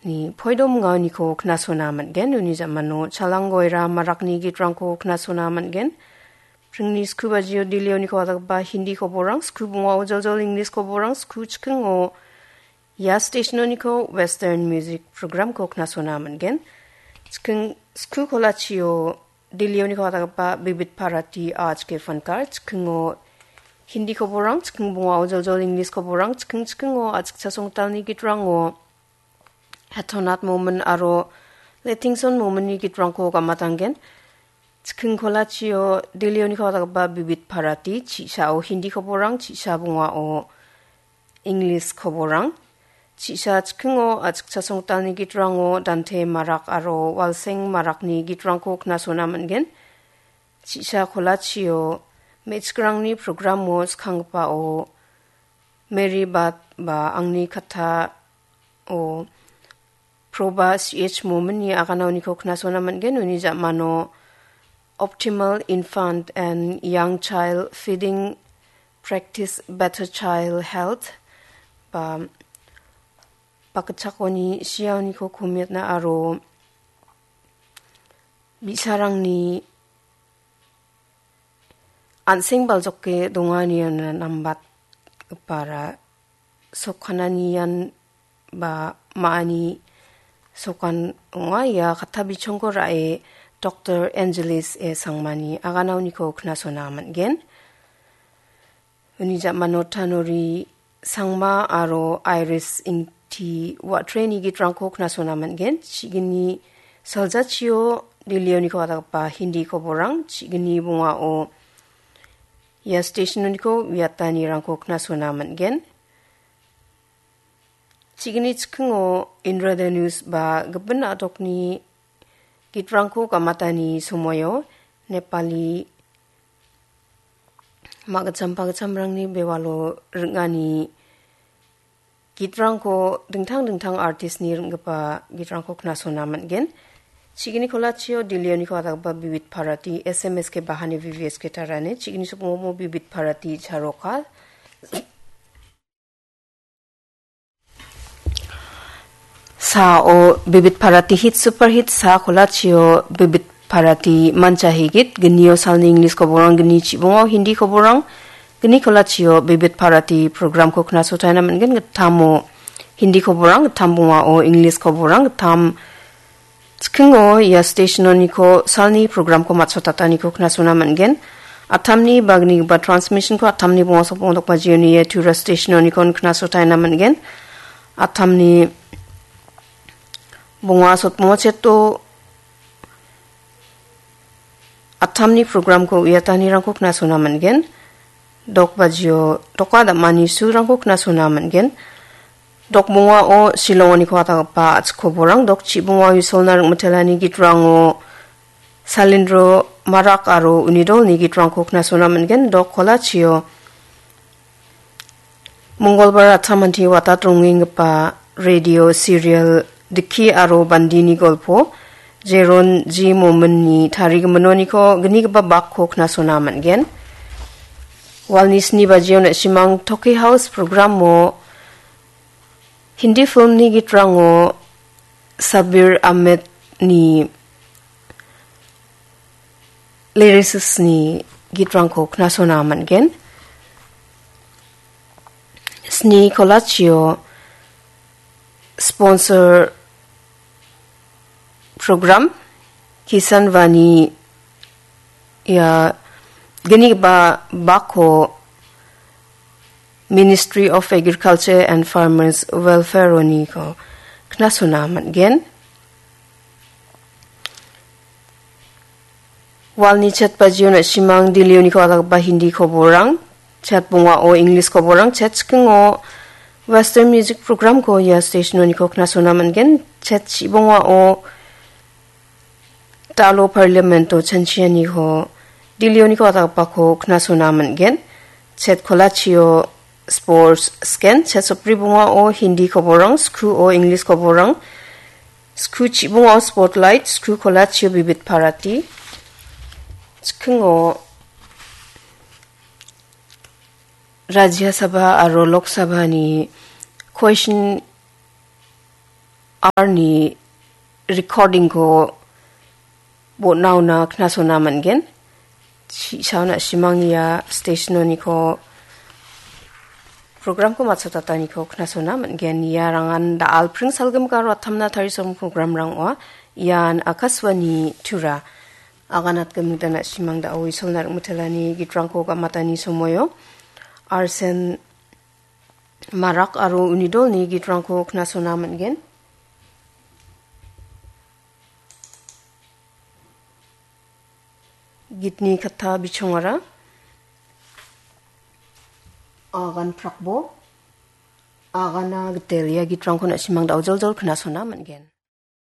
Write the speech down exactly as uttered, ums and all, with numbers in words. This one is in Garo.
ni poidom gaoniko knasona man·gen. Uni ja·mano Chalang Goira Marakni gitrangko knasona man·gen. Pringni sku bajio Delhioniko atagapa Hindi koborang, sku bungao joljol English koborang, sku chikingo ia stationoniko Western Music Programko knasona man·gen. Chiking sku kolachio Delhioniko atagapa Bibit Bharati Aaj Ke Fankar, chikingo Hindi koborang, chiking bungao joljol English koborang, chiking chikingo achikcha songtalni gitrango Hetonat Momin aro Letingson Mominni gitrangko gamatangen. Chiking kolachio Delhioniko atagapa Bibit Bharati, chi·sao Hindi koborang, chi·sa bungao English koborang, chi·sa chikingo achikcha songtalni gitrango Dante Marak aro Walseng Marakni gitrangko knasona man·gen. Chi·sa kolachio me·chikrangni programo skanggipao Mary Bat ba Angni Kattao Proba C H Mominni aganaoniko knasona man·gen. Uni ja·mano Optimal Infant and Young Child Feeding Practice Better Child Health ba bakgitchakoni siaoniko komiatna aro bi·sarangni an·seng baljoke dongani nambatgipara sokananian ba ma·ani sokan ong·a. Ia katta bichongko ra·e Doktor Angelis E Sangmani aganaoniko knasona man·gen. Uni ja·mano Tanori Sangma aro Iris Ingti Watreni gitrangko knasona man·gen. Chi·gni saljachio Delhioniko atagapa Hindi koborang, chi·gni bungao ia stationoniko uiatanirangko knasona man·gen. Chi·gni chikingo Indra Dhanus ba gipin a·dokni gitrangko gamatani somoio Nepali ma·gitcham pagitchamrangni bewalo ring·ani gitrangko dingtang dingtang artistni ring·gipa gitrangko knasona man·gen. Chi·gni kolachio Delhioniko atagapa Bibit Bharati, S M S K Bahani, V V S K Tarane, chi·gni sokmomo Bibit Bharati Charoka. Sao Bibit Bharati Hit Super Hit, sa kolachio Bibit Bharati Mancha Higit, gnio salni English koborang, gni chibungo Hindi koborang, gni kolachio Bibit Bharati programko knasotaina man·gen. Gittamo Hindi koborang, gittam bungao English koborang, gittam chikingo ia stationoniko salni programko matchotataniko knasona man·gen. Attamni bagnigipa transmissionko attamni bonga sopong dokbajioni ia Tura stationoniko knasotaina man·gen. Attamni bonga sotmongo cheto attamni programko uiatanirangko knasona man·gen. Dokbajio doka dam·ani sulrangko knasona man·gen. Dok bongao Shillongoniko atagagipa a·chik koborang, dok chibongao Isolna ring·mitelani gitrango Salindro Marak aro Unidolni gitrangko knasona man·gen. Dok kolachio Mongolbar atsamanti watat rongenggipa radio serial Dikki aro Bandini golpo Jeron G Mominni tarigiminoniko gnigipa bakko knasona man·gen. Walni sni bajio na·simang Toki House programo Hindi filmni gitrango Sabir Ahmedni lyricistni gitrangko knasona man·gen. Sni kolachio sponsor program Kisan Vani ia gnigipa bakko Ministry of Agriculture and Farmers Welfare-oniko knasona man·gen. Walni chet bajio na·simang Delhioniko alaggipa Hindi koborang, chet bongao English koborang, chet chikingo Western music programko ia stationoniko knasona man·gen. Chet chibongao Dalo Parliamento chanchianiko Delhioniko ataggipako knasona man·gen. Chet kolachio Sports Scan, chet sopri bongao Hindi koborang, skuo English koborang, sku chibongao Spotlight, sku kolachio Bibit Bharati, chikingo Rajya Sabha aro Lok Sabhani question arni recording-ko bon·aona knasona man·gen. Chi-, sauna simang ia station-oniko program-ko matchotataniko knasona man·gen. Ia rangan da·al pring salgimgaro atamna tarisom program-rang ong·a. Ian Akashvani Tura. Aganatgimik dana simang da·o Isolna ring·mitelani gitrangko gamatani somoio. Arsen Marak aro unidolni gitrangko knasona man·gen. Gitni katta bichongara Agan Prakbo, Agana Gitel ia gitrangko na·simang da·o joljol knasona man·gen.